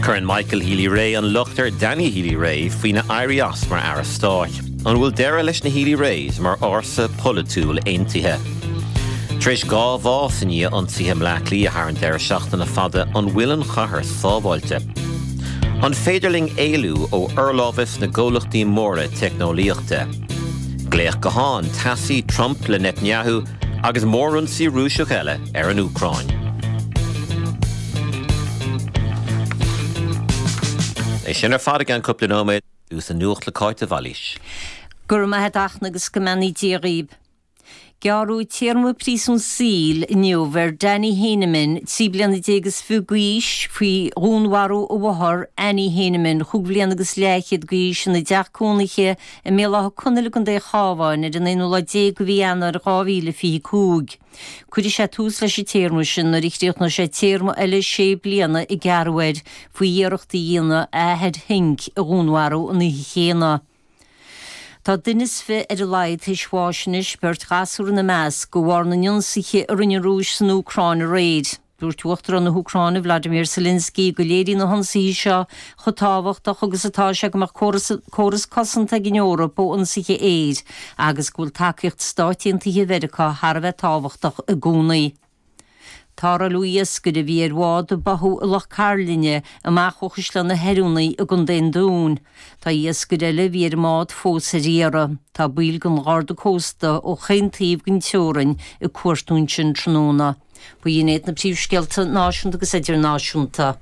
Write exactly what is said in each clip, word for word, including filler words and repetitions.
Cuireann Michael Healy-Rae an locht ar Danny Healy-Rae faoina éirí as mar aire stáit. An bhfuil deireadh leis na Healy-Raes mar fhórsa polaitiúil aontaithe. Tar éis dhá bhás i ndiaidh ionsaithe i mBleá Cliath thar an deireadh seachtaine fada an bhfuil an chathair sábháilte. An féidir linn éalú ó fhorlámhas na gcomhlachtaí móra teicneolaíochta. Glaoch gutháin teasaí Trump le Netanyahu agus mórionsaí Rúiseach eile ar an Úcráin. É sin ar fad i gceann cúpla nóiméad agus an nuacht le Cáit de Bhailís. Go raibh maith agat a Fhachtna agus go mbeannaí Dia dhaoibh. Gearradh téarma príosún saoil inniu ar Danny Heineman, trí bliana déag is fiche d'aois, faoi dhúnmharú a mháthar, Annie Heineman, chúig bhliana agus leathchéad d'aois, ina dteach cónaithe i mBéal Átha Conaill i gContae an Chabháin ar an aonú lá déag de mhí Eanáir dhá mhíle fiche cúig. Cuirfidh sé tús leis an téarma sin nuair a chríochnóidh sé téarma eile sé bliana a gearradh air faoi iarracht a dhéanamh a athair Henk a dhúnmharú an oíche chéanna. Tá duine is fiche ar a laghad tar éis bháis anois, beirt ghasúr ina measc, de bharr na n-ionsaithe a rinne an Rúis san Úcráin aréir. Dúirt Uachtarán na hÚcráine Vladimir Zelensky go léiríonn na hionsaithe seo chomh tábhachtach agus atá sé go mbeadh córas córas cosanta ag an Eoraip ó ionsaithe aeir agus go bhfuil tacaíocht Stáit Aontaithe Mheiriceá thar a bheith tábhachtach i gcónaí. Tarrtháladh iascaire a bhí ar bhád a báthadh i Loch Cairlinne amach ó Chaisleán na hOiriúnaí i gContae an Dúin. Tá iascaire eile a bhí ar an mbád fós ar iarraidh. Tá baill den Gharda Cósta ó chaon taobh den teorainn ag cuartú ansin tráthnóna. B'in iad na príomhscéalta náisiúnta agus idirnáisiúnta.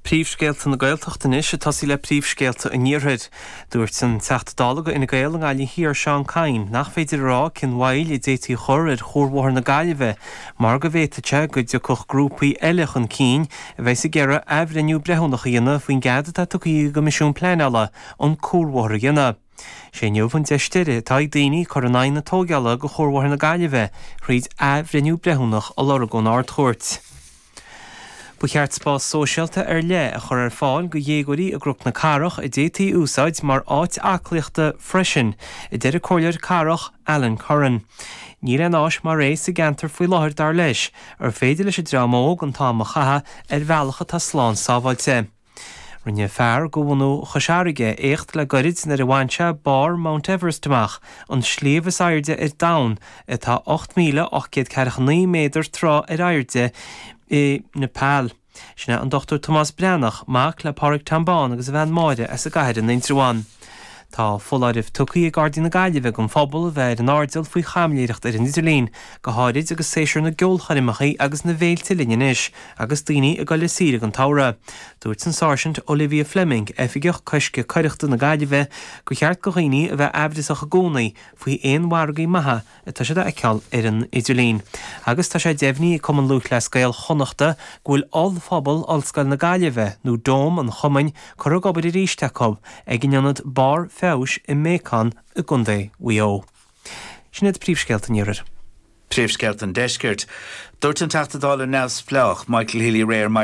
Príomhscéalta na Gaeltachta anois ag tosaí le príomhscéalta an Iarthair. Dúirt an Teachta Dála do Fhine Gael i nGaillimh Thiar Seán Kyne nach féidir a rá cén mhoill a d'fhéadfaí a chur ar Chuarbhóthar na Gaillimhe mar go bhféadfadh sé go dtiocfadh grúpaí eile chun cinn a bheas ag iarraidh athbhreithniú breithiúnach a dhéanamh faoin gcead atá tugtha ag an gCoimisiún Pleanála an cuarbhóthar a dhéanamh. Sé inniu an deis deiridh atá ag daoine cur in aghaidh na tógála do Chuarbhóthar na Gaillimhe thríd athbhreithniú breithiúnach a lorg ón Ard-Chúirt. Ba cheart spás sóisialta ar leith a chur ar fáil do dhéagóirí i gCnoc na Cathrach a d'fhéadfaí a úsáid mar áit aclaíochta freisin, a deir an Comhairleoir Cathrach Alan Curran. Níl aon áis mar é sa gceantar faoi láthair dar leis, ar féidir leis an dream óg an t-am a chaitheamh ar bhealach atá slán sábháilte. Rinne fear de bhunadh Chois Fharraige éacht le goirid nuair a bhain sé barr Mount Everest amach, an sliabh is airde ar domhan, atá ocht míle ocht gcéad ceathracha naoi méadar troigh ar airde i Nepal. Sin é an Dochtúir Tomás Breathnach, mac le Pádraig Tom Bán agus a bhean Máire as an gCathair in Indreabhán. Tá foláireamh tugtha ag Gardaí na Gaillimhe don phobal a bheith ar an airdeall faoi chaimiléireacht ar an idirlíon, go háirid agus séasúr na gceolchoirmeacha agus na bhféilte linn anois agus daoine ag dul ar saoire don tsamhradh. Dúirt an Sáirsint Olivia Fleming, Oifigeach Coiscthe Coireachta na Gaillimhe, gur cheart do dhaoine a bheith aimhreasach i gcónaí faoi aon mhargaí maithe atá siad a fheiceáil ar an idirlíon. Agus tá sé deimhnithe ag Cumann Lúthchleas Gael Chonnachta go bhfuil ollphuball Ollscoil na Gaillimhe, nó Dome an chumainn, curtha ag obair arís acu ag an ionad Barr Feabhais i mBéacán i gContae Mhaigh Eo. Sin iad príomhscéalta an Iarthair. Príomhscéalta an Deiscirt. Dúirt an Teachta Dála neamhspleách Michael Healy-Rae ar maidin